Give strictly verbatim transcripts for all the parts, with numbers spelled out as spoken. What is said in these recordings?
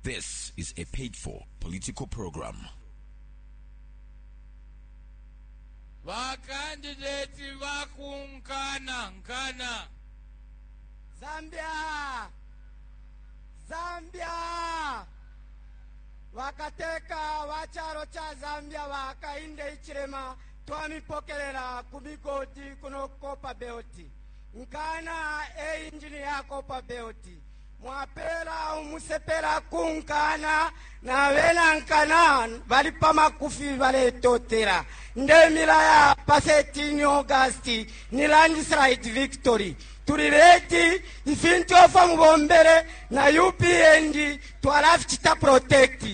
This is a paid for political program. Bakandideti bakunkana nkana. Zambia! Zambia! Bakateka ba chalo cha Zambia ba Hakainde Hichilema, twamipokelela ku migodi kuno Copperbelt. Nkana e injini ya Copperbelt. Mwapela umusepela kunkana na bena nkana bali pa makufi baletotela. Ndemila ya pa thirteen August ni landslide victory. Tuli ready ifintu ofa mubombele na U P N D twalafichita protect.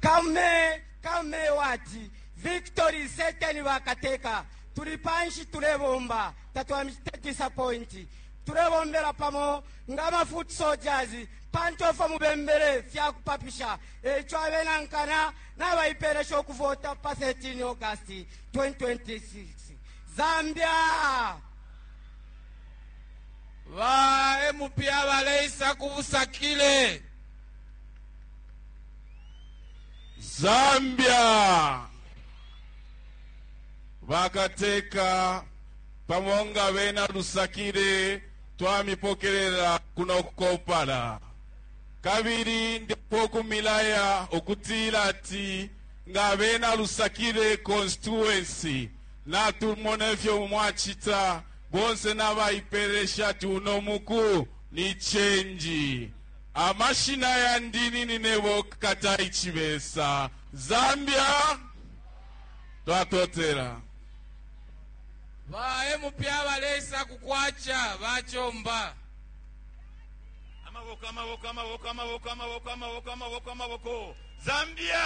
Kame kame wati victory certain bakateka. Tuli panshi tulebomba tatwamite disappoint. Tulebombela pamo ngama foot soldiers pantofa mubembele fya kupapisha echo abena nkana nabaipelesha okuvota pa thirteen August twenty twenty-six. Zambia ba M P abaleisa kubusakile. Zambia bakateka pamonga bena lusakile twamipokelela kuno kukopala kabili ndipo kumilaya okutila ati nga bena lusakile constituency natumona ifyo mwachita bonse n'abayiperesha tuno muku ni change amashina ya ndini ninebo kata ichibesa Zambia twatotera ba M P abalesa kukwacha bachomba amaboko amaboko amaboko amaboko amaboko amaboko amaboko amaboko Zambia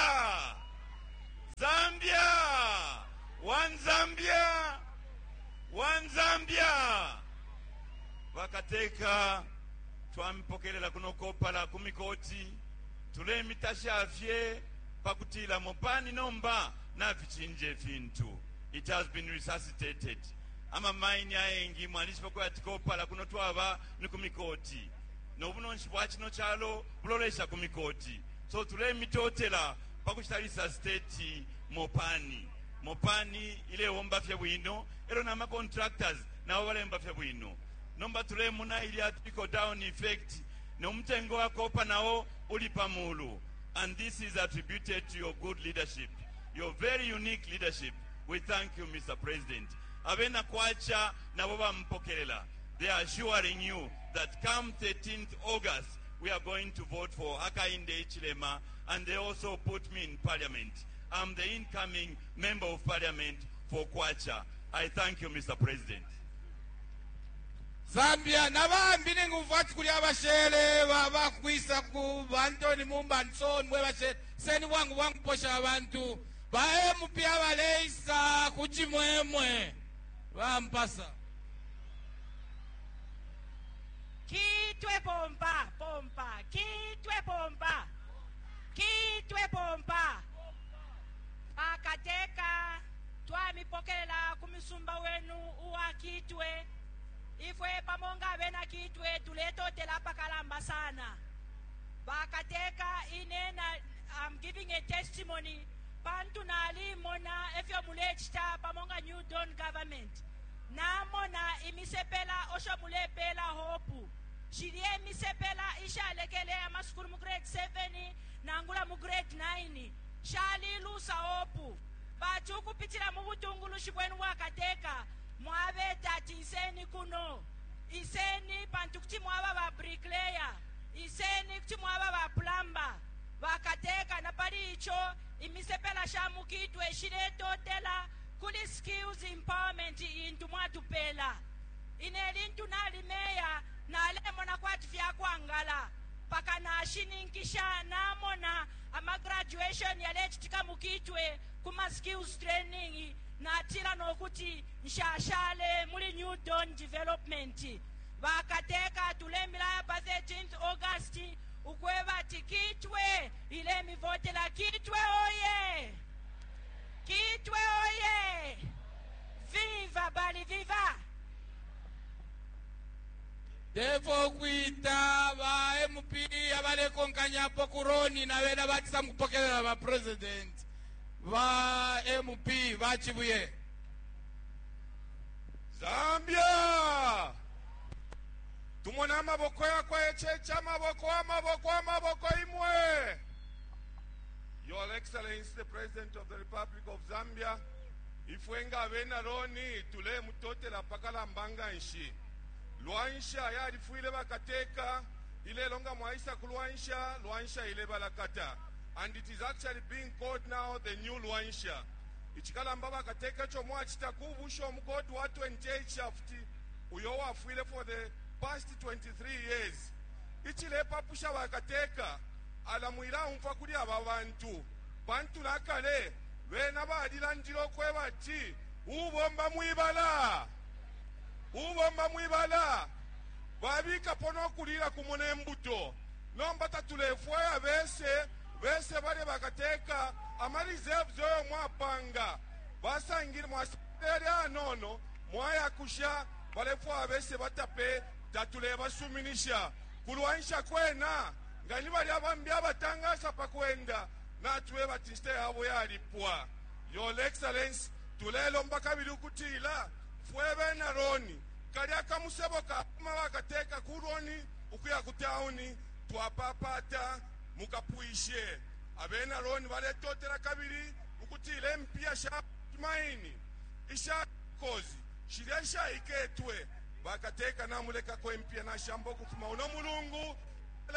Zambia one Zambia one Zambia bakateka twampokelela kuno kopala kumikoti tulemitasha fye pakutila mopani nomba nafichinje fintu. It has been resuscitated. Ama mine ayengi mwalishi kwa tikopala kuno twaba ni kumikoti nobunonshi bwa chino chalo bulolesha kumikoti so tulemitotela pakuchita resuscitate mopani mopani ile womba fye bwino ero na contractors nabo balemba fye bwino nomba tulemuna ili trickle down effect nomtengo wa kopa nawo uli pamulu, and this is attributed to your good leadership, your very unique leadership. We thank you, Mister President. Abena kwacha nabo bampokelela. They are assuring you that come thirteenth August we are going to vote for Hakainde Hichilema, and they also put me in parliament. I'm the incoming member of parliament for Kwacha. I thank you, Mister President. Zambia nabambi ningumva kuli abashele bakwisa ku Anthony Mumba Nson mwe bashele seni bwangu bwangu posha abantu ba M P abaleisa kuchimwemwe bampasa Kitwe pompa pompa kitwe pompa kitwe pompa akateka twamipokelela kumisumba wenu uwa kitwe ifwe pamonga bena kitwe tuletotela pakalamba sana bakateka inena. I'm giving a testimony pantu nali mona efyo mulechita pamonga New Dawn government namona imisepela osho mulepela hope shirie imisepela ishalekele amasukulu mu grade seven nangula mu grade nine shali lusa hope bachu kupitira mu butungulushi bwenu bwakateka mwabeta ati iseni kuno iseni pantu kuti mwaba ba bricklayer iseni kuti mwaba ba plumber bakateka na pali icho imisepela shamukitwe shiletotela kuli skills empowerment intu mwatupela inelintu nalimeya nalemona kwati fyakwangala paka nashininkisha namona ama graduation yalechitika mukitwe kuma skills training natila nokuti nshashale muli New Dawn development bakateka tulemila pa thirteenth August ukweba tikitwe ile mivotela kitwe oye kitwe oye viva bali viva Defo kwita ba M P M P abalekonkanyapo kuroni na bena batisa mukupokelela ba president ba M P bachibuye. Zambia! Tumona amaboko yakwa echeche, amaboko, amaboko, amaboko imwe. Your Excellency, the President of the Republic of Zambia, ifwe nga abena Roni tulemutotela pakalamba nshi. Luanshya yalifwile bakateka, ilelo nga mwaisa ku Luanshya, Luanshya ile balakata. And it is actually being called now the new Luanshya. Ichikalamba bakateka icho mwachita kubusha omugodi wa twenty-eight shaft uyo wafwile for the past twenty-three years. Ichilepapusha bakateka alamwila umfa kuli aba bantu bantu nakale bena balilandile okweba ati ubomba mwibala, ubomba mwibala babikapo nokulila kumo nembuto. Nomba tatulefwaya bese bese bale bakateka ama reserves oyo mwapanga basangile mwasele anono mwayakusha balefwaya bese batape tatulebasuminisha kulwanisha kwena nga ni bali abambi abatangasa pakwenda natube bati nshita yabo yalipwa. Your Excellence, tulelomba kabili ukutila fwe bena Roni kali akamusebo kakuma bakateka ku Roni ukuya ku tauni twapapata mukapwishe. Abena Roni baletotela kabili ukutila empiya sha maini isha kozi shilya shaiketwe bakateka namulekako empiya nashamba okufuma uno mulungu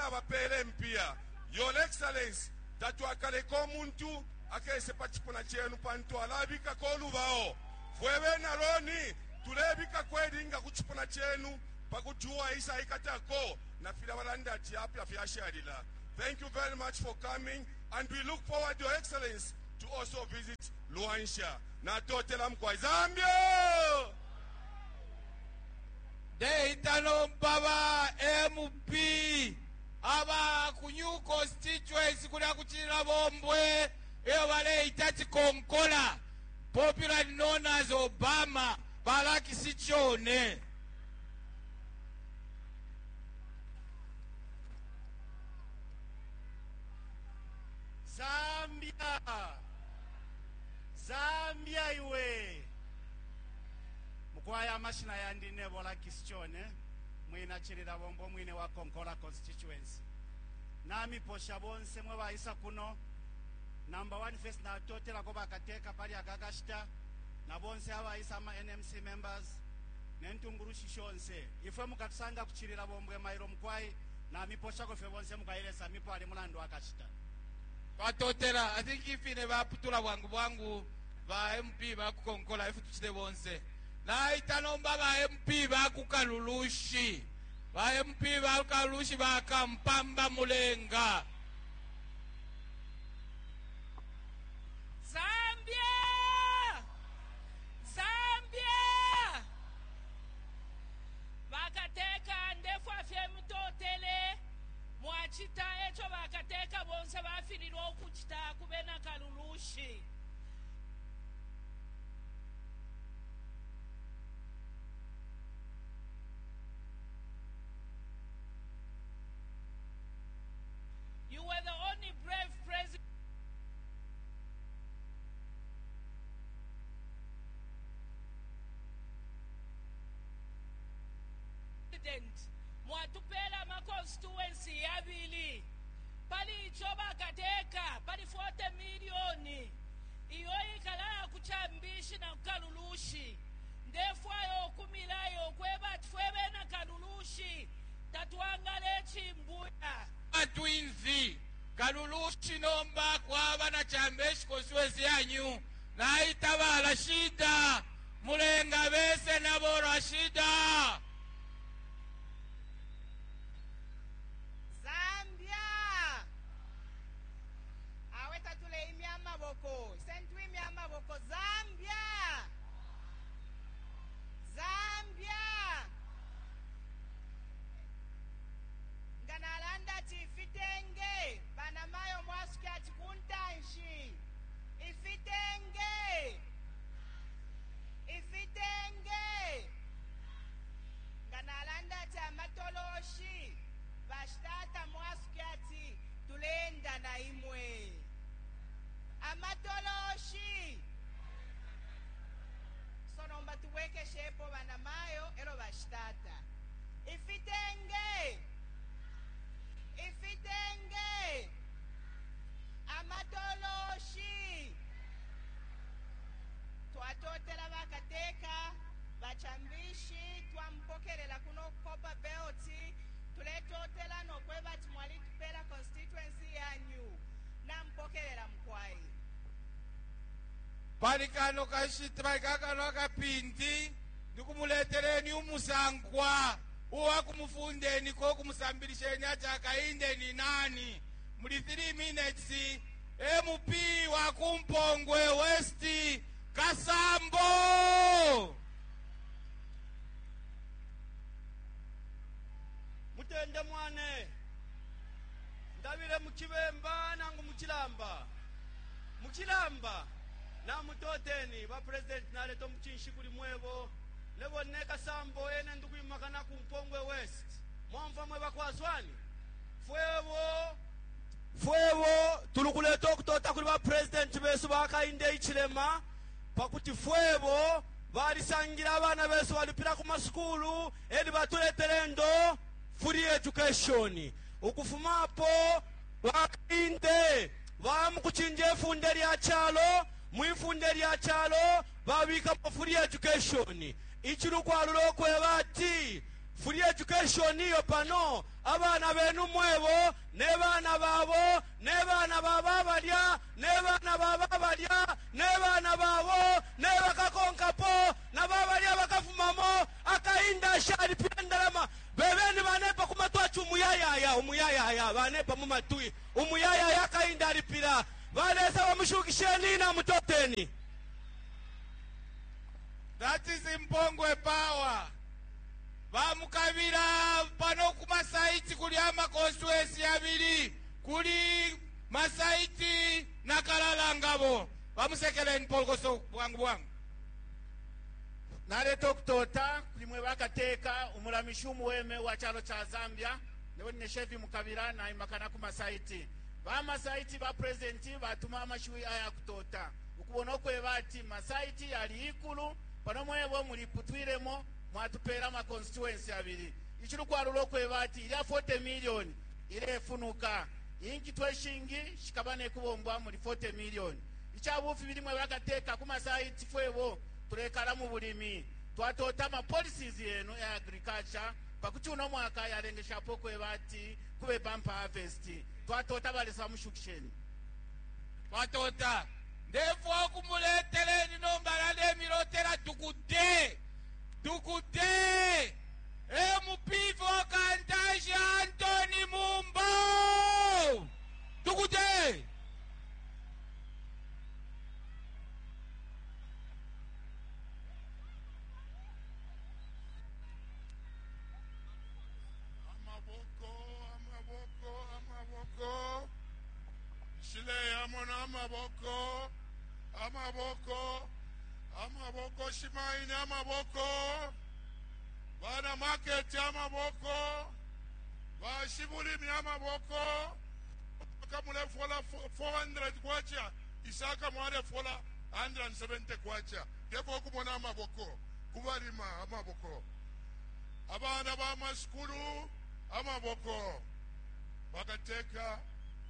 abapele empiya. Your Excellence, tatwakaleka omuntu akese pa chipuna chenu pantu alabikako olubao. Fwe bena Roni tulebikako elinga ku chipuna chenu pakuti uwaisa ikatako nafila balanda ati apya fyashalila. Thank you very much for coming, and we look forward, Your Excellence, to also visit Luanshya. Natotela mkwa. Zambia! Ndeitano baba M P aba ku new constituency kulya kuchilila bombwe iyo baleita Chikonkola, popularly known as Obama balakisi chone. Zambia! Zambia iwe! Mukwaya amashina yandi nebola kisichone mwina chilila bombo mwine wa Konkola constituency. Namiposha bonse mwe baisa kuno. Number one, first natotelako bakateka pali akakashita na bonse abaisa ama N M C members nentungurushi shonse. Ifwe mukatusanga kuchilila bombwe mailo mukwai namiposhako fye bonse mukailesa mipo ali mulandu akashita. Twatotela. I think ifine baputula bwangu bwangu ba M P bakukonkola ife tuchite bonse. Naita nomba ba M P bakukalulushi, ba M P bakukalulushi bakampamba mulenga. Zambia! Zambia! Bakateka ndefwa fye mutotele mwachita echo bakateka bonse bafililwa okuchita kubena kalulushi. You were the only brave president mwatupela ama constituency yabili pali icho bakateka pali forty miliyoni iyo ikalala kuchambishi na kukalulushi. Ndefwayo okumilayo okweba ati fwe bena kalulushi tatwangala echimbuya. Twinzi kalulushi nomba kwaba na Chambeshi constituency yanyu. Naita ba Rashida mulenga bese nabo Rashida. Zambia! Awe tatule imya amaboko sentwimya amaboko. Zambia! Zambia! Nga nalanda ati ifitenge banamayo mwasuke ati kuntanshi ifitenge ifitenge. Pali kano kashita pali kakano akapindi ndikumuleteleni umusankwa uwakumufundeni ko kumusambilisheni ati Hakainde ni nani. Muli three minutes, M P wa kuMpongwe West, Kasambo. Mutende mwane, ndabile muchibemba nangu muchilamba muchilamba namutoteni ba president. Naleta omuchinshi kuli mwebo nebo ne Kasambo ene ndikuyimakana ku Mpongwe West. Mwamva mwe bakwazwani fwebo fwebo tulukuleta okutota kuli ba president besu baKainde Hichilema pakuti fwebo balisangira abana besu balipira ku masukulu edi batuletele ndo free education. Ukufumapo baKainde bamukuchinja ifunde lya chalo, mwifunde lya chalo babikapo free education. Ichilukwalula okweba ati free education iyo pano abana benu mwebo ne bana babo ne bana baba balya ne bana baba balya ne bana babo ne bakakonkapo na babalya bakafumamo. Akainda ashalipira ndalama bebeni banepa kumatwachi umuyayaya umuyayaya banepa mumatwi umuyayaya. Akainda alipira balesa bamushukisheni na mutoteni. That is Mpongwe power. Bamukabira pano ku Masaiti kuli ama constituency abiri, kuli Masaiti na Kalalangabo. Bamusekeleni Polokoso bwangu bwangu. Naleta okutota kulimwe bakateka umulamishi umuweme wa chalo cha Zambia. Newe neshevi mukabira naimakana ku Masaiti. Bamasaiti ba president batuma amashiwi aya kutota ukubona okweba ati Masaiti yali ikulu pano mwebo muliputwilemo mwatupera ama constituency abiri. Ichilukwalula okweba ati ilya forty million ilefunuka inki tweshingi shikaba nekubombwa muli forty million. Ichabufi bilimwe bakateka ku Masaiti fwebo tulekala mu bulimi twatota ama policies yenu ya agriculture pakuti uno mwaka yalengeshapo kweba ati kube bumper harvest. Twatota balesa mushukisheni. Twatota ndefwa okumuleteleni nomba nalemilotela tukute tukute M P for Kantanshi, Antony Mumba, tukute. Amaboko, amaboko, amaboko. Shile yamona amaboko, amaboko, amaboko. Shimaini amaboko, bana market amaboko, bashibulimi amaboko. Kamulefola four hundred kwacha isaka mwalefola one hundred seventy kwacha ndipo kumona amaboko kubalima amaboko abana b'amasukulu amaboko bakateka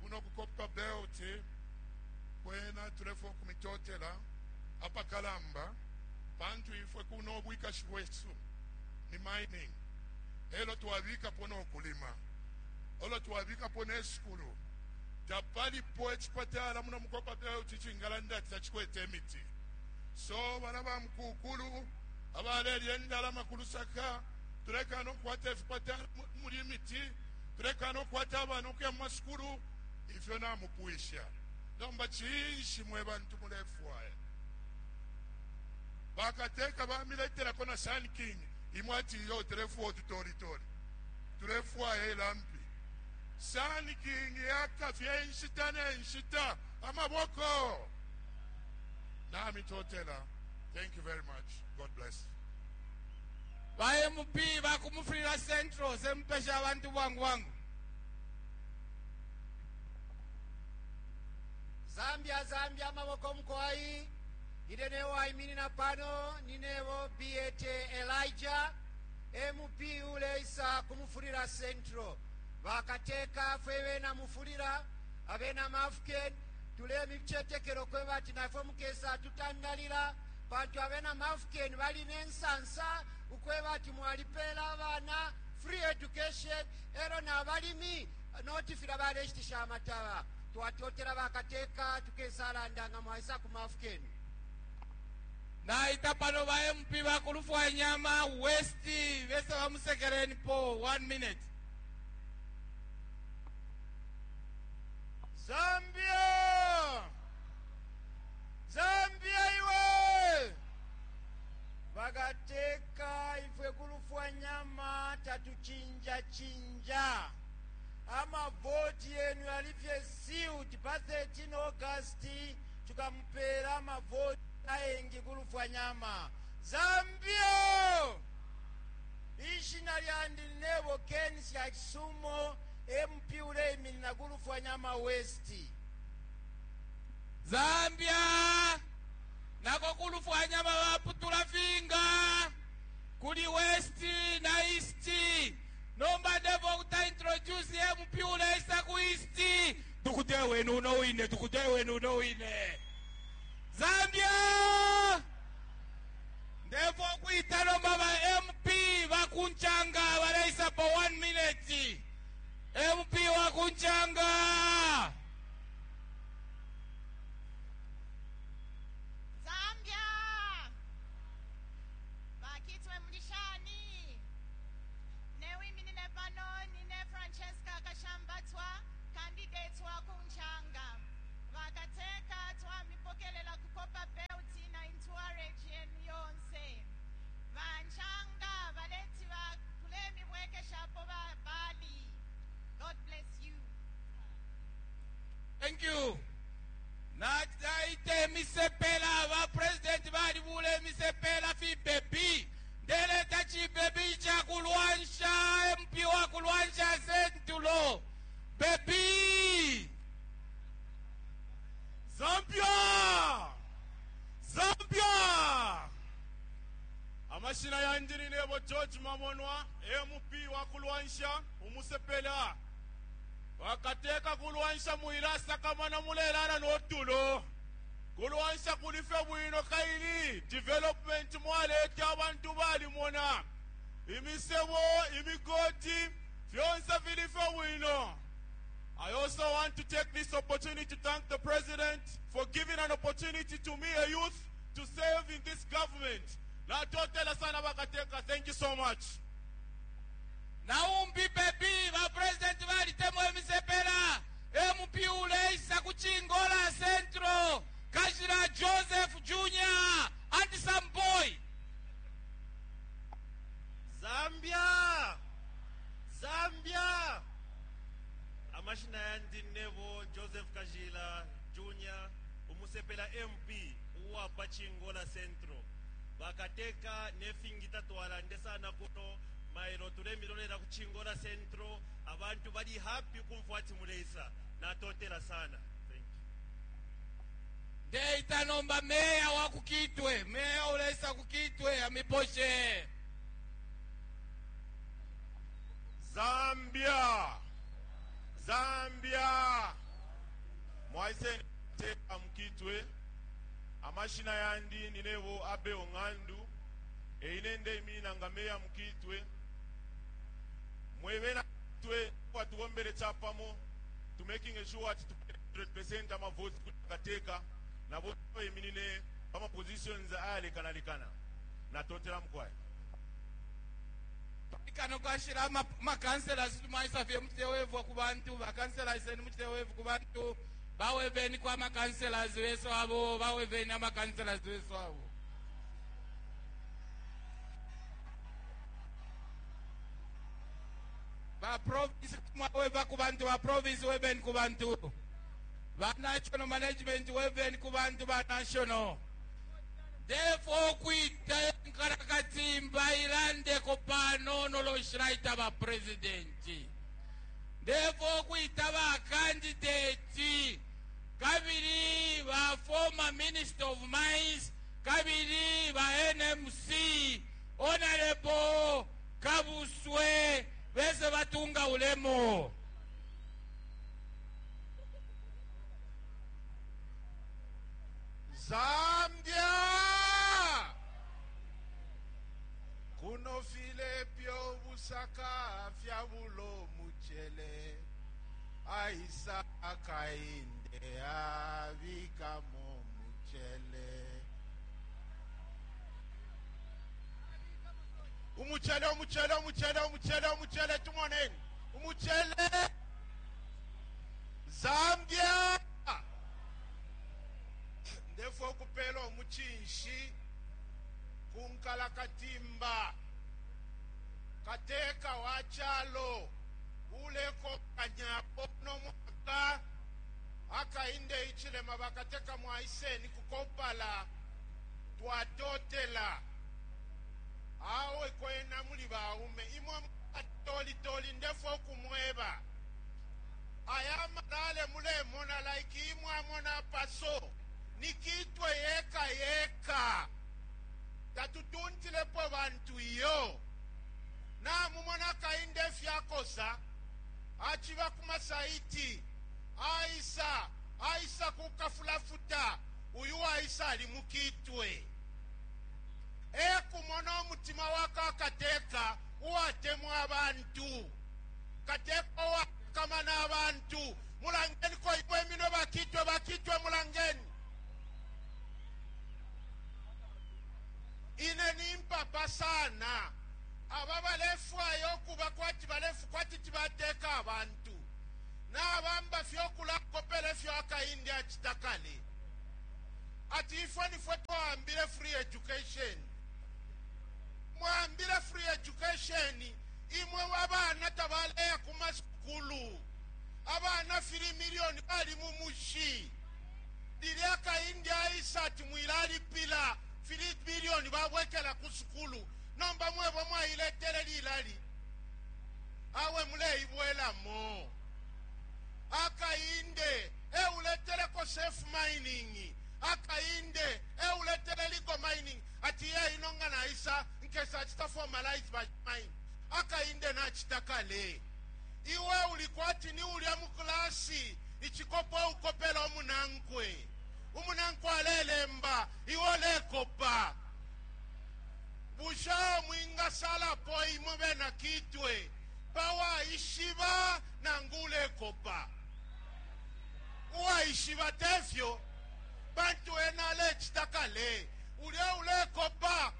kuno ku Copper Belt kwena tulefa okumitotela apakalamba pantu ifwe kuno obwikashi bwesu ni mining elo twabikapo n'okulima olo twabikapo n'esukulu tapalipo ekipatala muno mu Copper Belt chingalanda tachikwete emiti so bana ba mukukulu abalelya endalama ku Lusaka tuleka nokukwata efipatala muli emiti tuleka nokukwata abaana okuya mu masukulu ifyo namupwisha. Nomba chinshi mwe bantu mulefwaya bakateka bamiletelako na Sun King imwe ati iyo tulefwa otutolitori tulefwaya elampi Sun King yakafye enshita nenshita amaboko namitotela. Thank you very much. God bless. Ba M P bakumufulira Central sempesha abantu bwangu bwangu. Zambia, Zambia, amaboko mkwai ine newayimirira pano ninevo B T Elijah, M P uleisa kumufulira Central. Bakateka fwe bena mufulira abena Mafken tulemi bichetekero kwe bati nafwe mukesa tutandalira pantu abena Mafken balina ensansa ukwe bati mwalipela abaana free education ero n'abalimi notifira baleshitisha amataba. Twatotera bakateka tukesalanda nga mwaisa ku Mafken. Naita pano ba M P bakulufwanyama West bese bamusekereni po one minute. Zambia! Zambia iwe! Bakateka ifwe kulufwanyama tatuchinja chinja. Amavoti yenu yalifye sealed pa thirteen August, tukamupera amavoti ayengi kulufwanyama. Zambia! Ishina lyandi nebo Ken Syakisumo, M P uleiminina kulufwanyama West. Zambia! Nako kulufwanyama baputula finga kuli West na East. Nomba ndevo kuta introduce M P uleisa ku East. Tukute wenu uno wine, tukute wenu uno wine. Zambia! Ndevo kuita nomba ba M P bakunchanga baleisa po one minute. M P wakunchanga. Zambia! Bakitwe mlishani. Newiminine pano nine Francesca Kashambatwa, candidate wa kunchanga. Vakateka twamipokelela ku Copperbelt na entourage yenu yonse. Vanchanga valeti va kulemi bwekeshapo va bali. God bless you. Thank you. Naite misepela ba president balibule misepela fi baby. Ndeleta chi baby cha kulwansha, M P wa kulwansha Central. Baby. Zambia! Zambia! Amashina yandini nebo George Mamonwa, M P wa kulwansha umusepela. Wakateka kulwansha muilasa kamana mulelana notulo. Kulwansha kulife bwino kaili development mwaleta abantu balimona. Imisebo, imigoti, fyonse filife bwino. I also want to take this opportunity to thank the president for giving an opportunity to me, a youth, to serve in this government. Natotela sana bakateka. Thank you so much. Naumbi baby ba president balitemo emisepela. M P uleisa kuchingola Central. Kashira Joseph Junior, handsome boy. Zambia! Zambia! Amashina yandi nebo Joseph Kajila Junior, umusepela M P uwapa Chingola Central. Bakateka nefingita twalande sana kuno mailo tulemilolera ku Chingola Central, abantu bali happy kumfwati muleisa. Natotela sana. Thank you. Ndeita nomba meya wa kukitwe, meya uleisa kukitwe amiposhe. Zambia! Zambia! Mwaise teka mukitwe amashina yandi ninebo abe ongandu eine nde nga meya mukitwe mwebena twe watuwombere chapamo to making sure ati one hundred percent amavotes kateka nabo eminine pama positions ayalekanalekana. Natotela mukwayi. Kano kashira makanselas tumaisa fye muchitewevu ku bantu bakanselas eni muchitewevu ku bantu baweveni kwa makanselas weso abo baweveni amakanselas weso abo. Ba province mwaweva ku bantu ba province, weveni ku bantu ba national management, weveni ku bantu ba national. Therefore kuita nkarakatimba ilandeko panono loshiraita ba president. Therefore kuita ba candidate kabili ba former minister of mines kabili ba N M C, Honorable Kabuswe, bese batunga ulemo. Zambia! Kuno file pyo busaka fyabulo muchele aisa kainde abikamo muchele. Umuchele, umuchele, umuchele, umuchele, umuchele, tumoneni. Umuchele. Zambia. Ndefo okupela omuchinshi kunkala katimba kateka wa chalo uleko kanyapo nomwaka akainde ichilema bakateka mwaiseni kukopala twatotela awe kwena muli baume imwe atolitoli ndefo okumweba aya malale mulemona like imwe amona paso nikitwe yeka yeka tatutuntilepo bantu iyo namumona kainde fyakosa achiva kumasaiti aisa aisa kukafulafuta uyu aisa ali mukitwe ekumona omutima wako akateka uwatemwa abantu kateka owakamana abantu mulangeni ko imwe mino bakitwe bakitwe mulangeni ine nimpapa sana aba balefwayo okuba kwati balefu kwati tibateka abantu nabamba fyokulakopela efyo akaindi acita kale ati ifwe nifwe twahambile free education mwambile free education imwe abana tabaleya kumasukulu abana three million bali mumushi lili akaindi aisa ati mwilalipila three million babwekela ku sukulu nomba mwebo mwailetele lilali awe muleibwelamo akainde euleteleko safe mining akainde euletele legal mining ati ye inonga naisa nkesa achita formalize ba mine akainde nachita kale iwe ulikwati ni ulya muklasi ichikopo ukopela omunankwe umunankwe alelemba iwe olekopa busha mwingasalapo imwe bena kitwe pawaishiba nangu ulekopa uwaishiba tefyo bantu ena alecita kale ulya ulekopa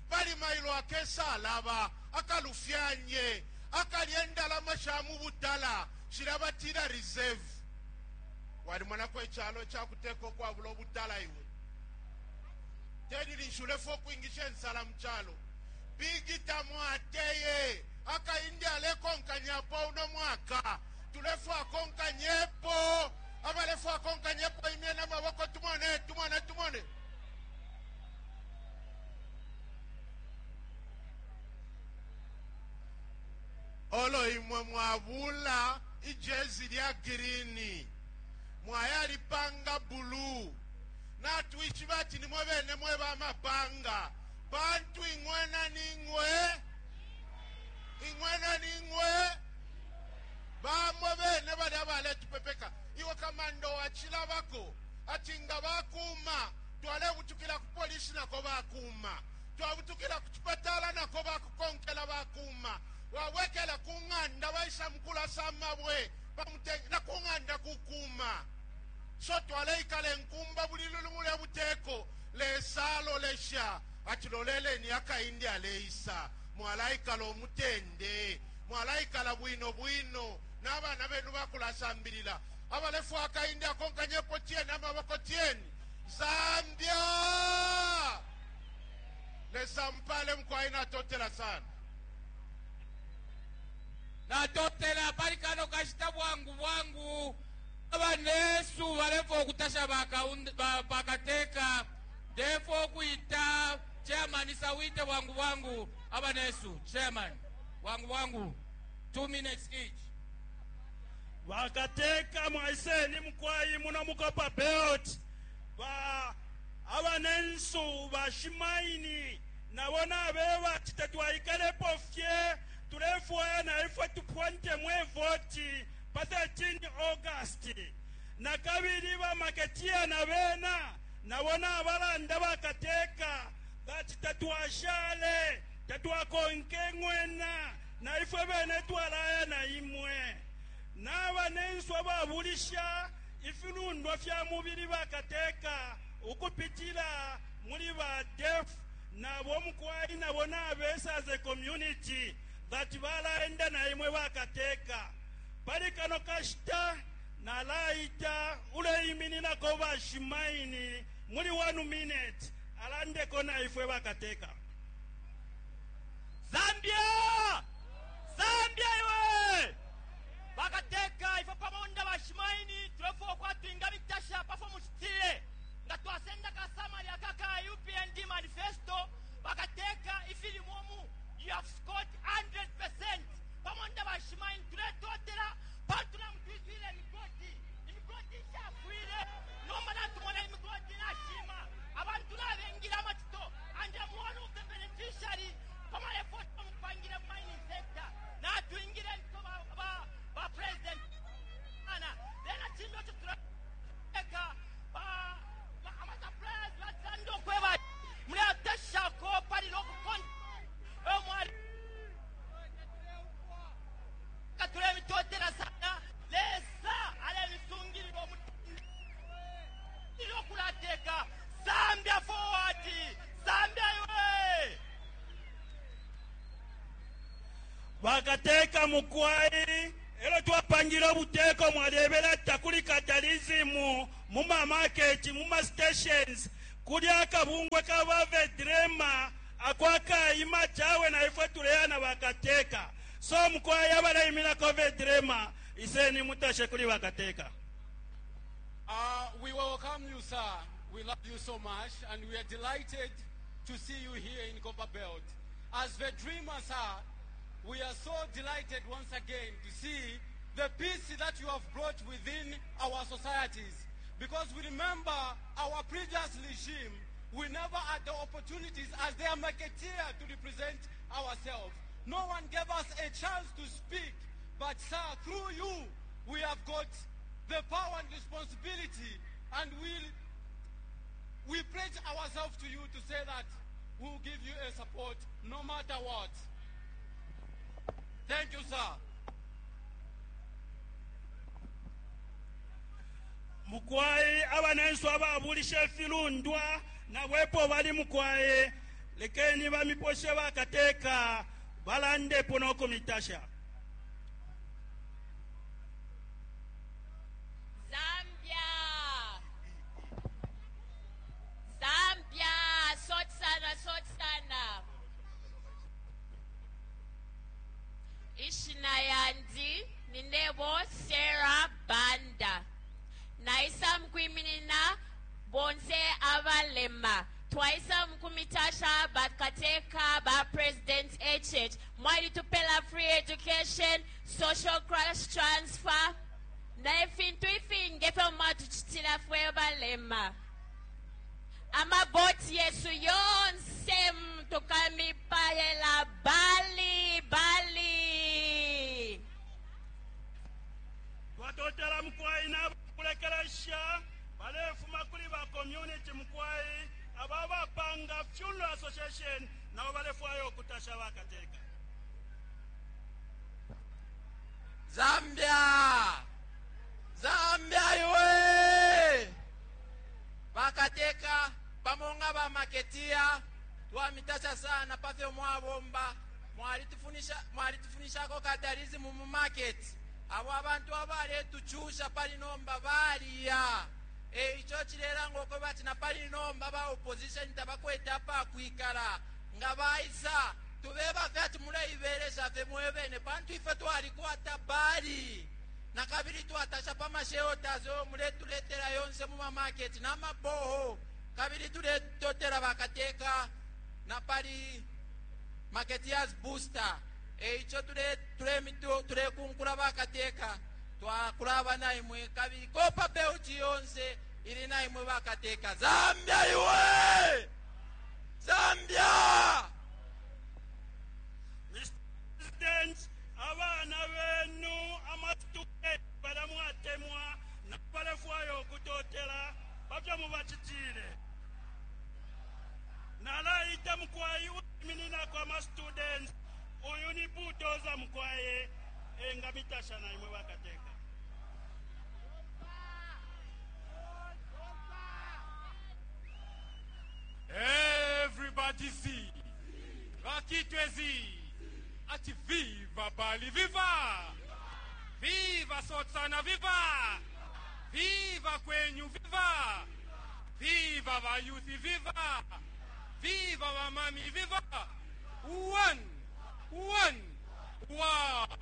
pali mailo akesa alaba akalufyanye akalya endalama sha mu butala shilabatila reserve walimonako echalo chakuteka okwabula obutala iwe telilinshulefo okwingisha ensala muchalo bigita mwateye akaindi alekonkanyapo uno mwaka tulefu akonkanyepo abalefu akonkanyepo imye namaboko tumone tumone tumone olo imwe mwabula ijezi lya girini mwayalipanga bulu natwishiba ati nimwe bene mwe bamapanga bantu ing'wena ning'we ing'wena ning'we bamwe bene balya baletupepeka iwe kamando wachilabako ati nga bakuma twalebutukila ku polisi nako bakuma twabutukila ku chipatala nako bakukonkela bakuma wawekela kung'anda baisa mukulasa mabwe na kung'anda kukuma so twaleikala enkumba buli lulumu lya buteko lesalolesha ati loleleni akaindi aleisa mwalaikala omutende mwalaikala bwino bwino n'abaana benu bakulasambilila abalefu akaindi akonkanyepo tyeni amaboko tyeni Zambia lesa mpale mkwai natotela sana natotela pali kano kashita bwangu bwangu abanesu balefa okutasha bakateka ndefo okuita chairman sawite bwangu bwangu abanesu chairman bwangu bwangu two minutes each vakateka mwaiseni mukwayi muno mukopa belt va abanensu vashimaini navo nave vati tatwaikalepo fye tulefwaya na ifwe tupwante mwevoti pa thirteen August na kabili vamaketiya na vena navo navalanda vakateka vati tatwashale tatwakonke ng'wena na ifwe vene twalaya na imwe navanenswa vavulisha ifilundwa fya muvili vakateka ukupitila muli va def Nabo mukwai nabo nabesa as a community that balaenda na imwe bakateka. Pali kano kashita nalaita uleimininako bashimaini muli one minute alandeko na ifwe bakateka. Zambia! Zambia iwe! Bakateka ifwe pamonda bashimaini tulefo kwatwinga bitasha pafo muchitile nga twasenda kasamali akaka U P N D manifesto bakateka ifilimomu you have scored hundred percent pamonda bashimaini tuletotela patula mutwitwile imigodi imigodi ishafwile nomba natumona imigodi nashima abantu nabengira amatito and I'm one of the beneficiary pama effort mupangire mining sector natwingire nto ba, ba, ba president ana then achimbe tutuleka ba ama suppliers batsando kweba muli atasha ko pali loko kon omwali katule mitotela sana lesa ale misungiriro ilokulateka Zambia forward Zambia iwe bakateka mukwai elo twapangira obuteko mwalebera takuli capitalism mu ma market mu ma stations kuli akabungwe kabavedrema akwakaima chawe na ifwe tuleyana bakateka so mukwai abaleimirako vedrema iseni mutashe kuli bakateka. Uh, we welcome you, sir. We love you so much, and we are delighted to see you here in Copperbelt. As the dreamers, sir, we are so delighted once again to see the peace that you have brought within our societies. Because we remember our previous regime, we never had the opportunities as their marketeer to represent ourselves. No one gave us a chance to speak, but sir, through you, we have got the power and responsibility, and we, we pledge ourselves to you to say that we will give you a support no matter what. Thank you, sir. Mukwai abanenso ababulisha filundwa na bwepo bali mukwai lekeni bamiposhe bakateka balandepo n'okumitasha. Zambia! Zambia! Sot sana, sot sana. Ishina yandi ninebo Sarah Banda. Naisa mkwiminina bonse abalema. Twaisa mkumitasha bakateka ba President H H. Mwali tupela free education, social cash transfer. Na ifintu ifinge fe mwatuchitila fwe balema. Amaboti yesu yonse mtukamipayela bali bali. Twatotela mkwai na kulekelesha balefuma kuli ba community mkwai ababapanga funeral association nabo balefwayo okutasha bakateka. Zambia! Zambia iwe! Bakateka pamonga ba maketia twamitasha sana pafyo mwabomba mwalitufunisha mwalitufunishako capitalism mu market abo abantu abaletuchusha pali nomba baliya eicho chilera ngoko bati na pali nomba ba opposition tabakweta pa kwikala nga baisa tubeba fye muleiberesha fye mwebene pantu ife twalikwata bali na kabili twatasha pa masheotazo muletuletera yonse mu market na maboho kabili tuletotera bakateka na pali marketeers booster eicho tule tule mito tule kunkula bakateka twakulaba na imwe kabili Copperbelt yonse ili na imwe bakateka. Zambia iwe! Zambia! Mister President, abana benu amatuke balamwatemwa na balefwayo okutotela bapya mubachitile. Nalaita mukwayi uminina kwa ma students uyu ni butoza mukwaye enga mitasha na imwe bakateka. Everybody see. Kitwezi. Ati viva Bali, viva! Viva Sotsana, viva! Viva Kwenyu, viva! Viva Vayuthi, viva! Viva Vamami, viva! One, one, one.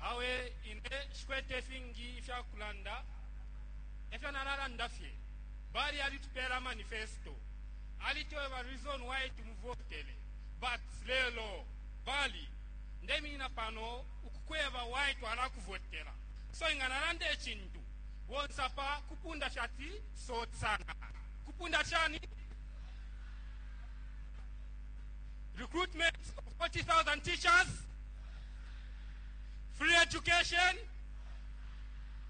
Awe ine shikwete fingi ifyakulanda efyo nalalanda fye bali alitupela manifesto alitweba reason why tumuvotele but lelo bali ndemina pano ukukweba why twalakuvotela so inga nalanda echintu bonsapa kupunda shati sotsana kupunda chani recruitment of forty thousand teachers, free education,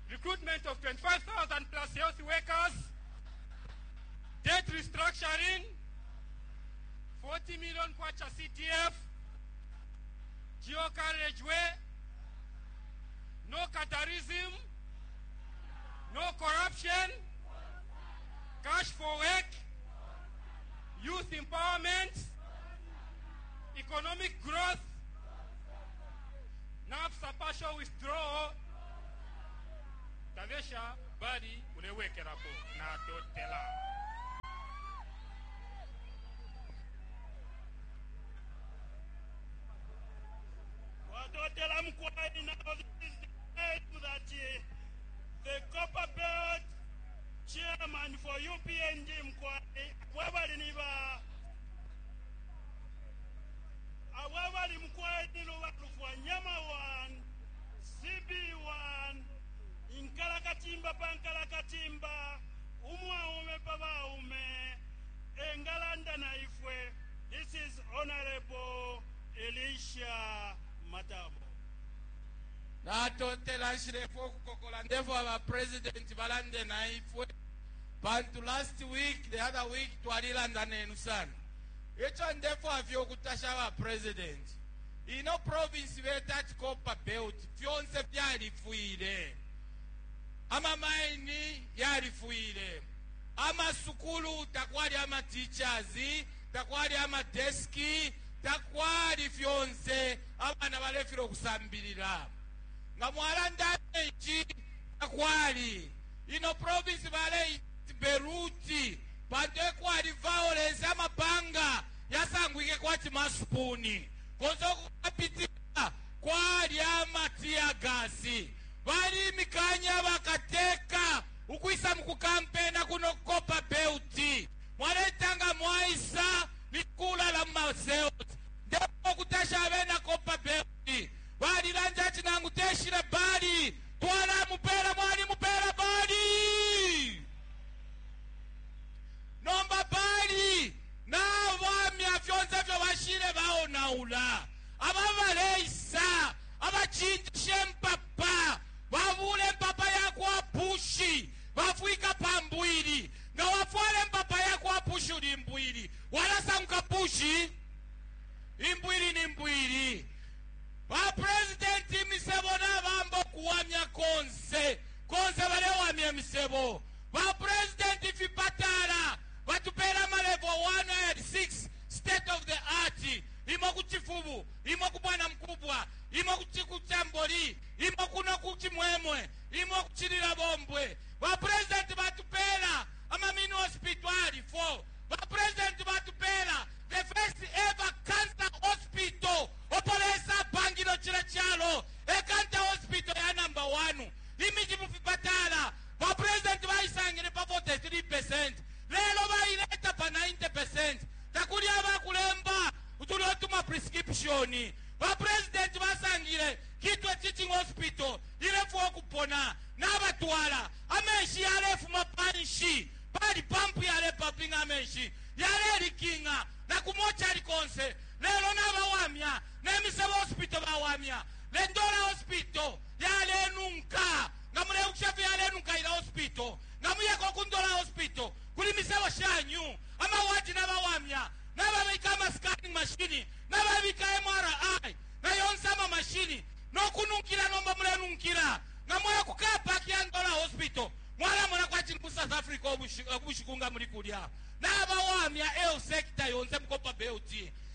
recruitment of twenty-five thousand plus health workers, debt restructuring, forty million kwacha C T F, geo carriageway, no catarism, no corruption, cash for work, youth empowerment, economic growth, NAPSA partial withdrawal, Tavesha bali ulewekerapo na totela. Watotela mkwai now this is the time that the Copperbelt chairman for U P N D mkwai wabali niba awabali mkwai niluwa nyama one C B one inkalakatimba pankalakatimba umwaume pabaume engalanda na ifwe. This is Honorable Elisha Matabo. Natotela nshilefo okukokola ndefo aba president balande na ifwe bantu last week the other week twalilanda nenu sana echo ndefo afyo okutasha aba president ino province beta Copperbelt fyonse fyalifwile amamaini yalifwile amasukulu takwali ama teachers takwali ama deski takwali fyonse abana balefira okusambilira nga mwalanda enchi takwali ino province bale Beruti pantu ekwali violence amapanga yasangwike kwati masupuni konzo kukapitika kwali amatiagasi bali mikanya bakateka ukwisa mukukampena kuno Copperbelt mwaletanga mwaisa nikula la maseot ndipo kutasha abena Copperbelt balilanja chinangu teshile bali twala mupera mwali mupera bali nomba bali nabamya fyonse fyo bashile baonaula ababaleisa abachinjishe mpapa babule mpapa yakwa pushi bafwika pambwili nga wafwale mpapa yakwa pushi uli mbwili walasanguka pushi imbwili ni mbwili ba president misebo nabambo kuwamya konse konse balewamya misebo ba president fipatala batupela ma level one and six state of the art imo kuchifubu imo kubwana mkubwa imo kuchikuchamboli imo kuno kuchimwemwe imo kuchilila bombwe ba president batupela ama mini hospital four ba president batupela the first ever cancer hospital opolesa bangilo chila chalo e cancer hospital ya number one imiji mufipatala ba president baisangile pa forty-three percent lelo baileta pa ninety percent takuli abakulemba utulotuma prescription ba president basangile Kitwe Teaching Hospital ilefu okupona n'abatwala amenshi yalefuma panshi pali pampu yalepapinga amenshi yalelikinga na kumocha likonse lelo n'abawamya n'emisebo hospital bawamya lendola hospital yalenunka nga muleukushafu yalenunka ila hospital nga muyeko kundola hospital kuli misebo shanyu amawaji n'abawamya n'ababika ama scanning machine n'ababika M R I nayonse ama machine n'okununkira nomba mulenunkira nga mwaya kukapa kya Ndola hospital mwalamona kwa chini ku South Africa Bushiku nga muli kulya nabawamya health sector yonse mu Copperbelt.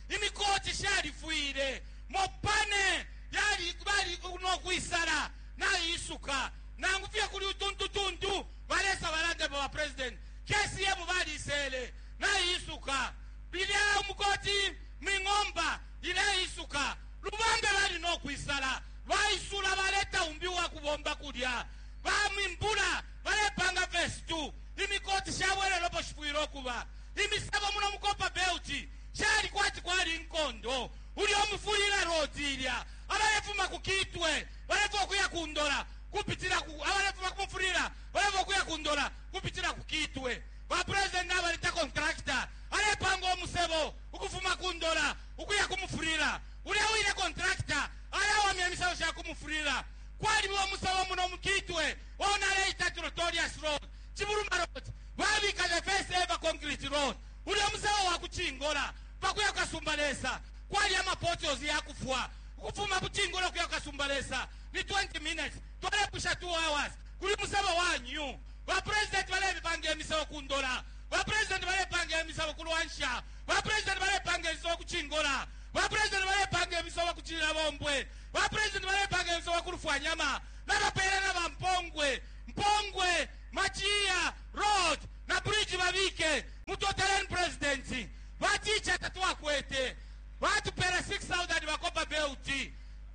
Imikoti shalifwile, mopane yali bali nokwisala naisuka, nangu fye kuli utuntu tuntu balesa balande ba president K C M balisele naisuka, bilya umukoti ming'omba ileisuka, lubambe bali nokwisala baisula, baleta umbi wa kubomba kulya bamimbula balepanga phase two. Imikoti shabwelelepo shifwile okuba imisebo muno mu Copperbelt shali kwati kwali nkondo. Uli omufulila road ilya abalefuma ku Kitwe balefa okuya kundola kupitila ku abalefuma kumufulila balefa okuya kundola kupitila ku Kitwe. Ba president nabaleta contractor alepanga omusebo ukufuma kundola ukuya kumufulila. Ulya wine contractor alawamya emisebo sha kumufulila. Kwaliba omusebo muno mukitwe onaleita Notorious Road, Chibuluma Road, babika the first ever concrete road. Ulya omusebo wa kuchingola pakuya Kasumbalesa kwali amapotholes yakufwa. Ukufuma kuchingola kuya Kasumbalesa ni twenty minutes, twalepusha two hours. Kuli musebo wanyu ba president balepanga emisebo kundola, ba president balepanga emisebo kulwansha, ba president balepanga emisebo kuchingola, ba president balepanga emisebo kuchilila bombwe, ba president balepanga emisebo kulufwanyama, nabapela na bampongwe mpongwe Machiya Road na bridge babike mutoteleni president. Baticha tatwakwete, batupela six thousand ba Copperbelt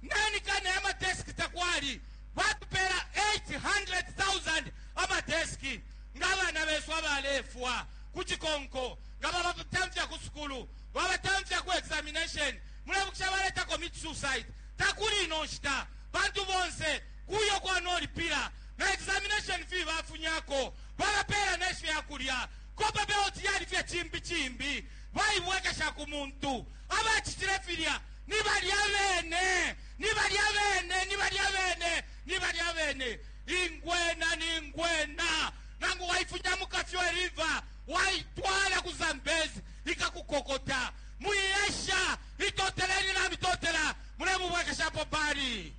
nani kana amadeski takwali, batupela eight hundred thousand amadeski. Ng'abaana besu abalefwa ku chikonko nga babatamfya ku sukulu, babatamfya ku examination, mulebukisha baleta commit suicide. Takuli ino nshita, bantu bonse kuyo kwanolipira na examination fee bafunyako, babapela nefyakulya. Copperbelt yali fye chimbi chimbi bayibwekesha ku muntu. Abachitile filya ni balya bene, ni balya bene, ni balya bene, ni balya bene. Ingwena ni ngwena, nangu waifunya mu Kafue River waitwala ku Zambezi ikakukokota. Muyesha itoteleni na mitotela mulemubwekeshapo pali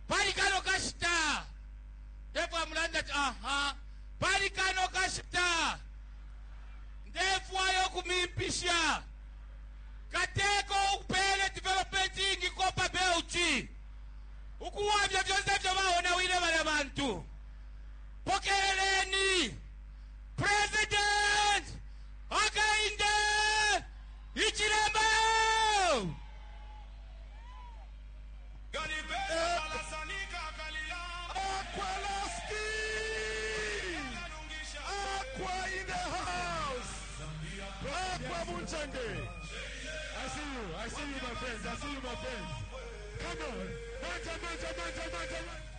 pali kano kashita ndefwa mulanda ati aha pali kano kashita ndefwayo kumimpisha kateko ukupele development ingi Copperbelt ukuwamya vyonse vyo baonawile balya bantu. Pokeleleni President Hakainde Hichilema. Aqualaski! Aqua in the house! Aqua Munchande! I see you. I see you, my friends. I see you, my friends. Come on. Manja, manja, manja, manja, manja.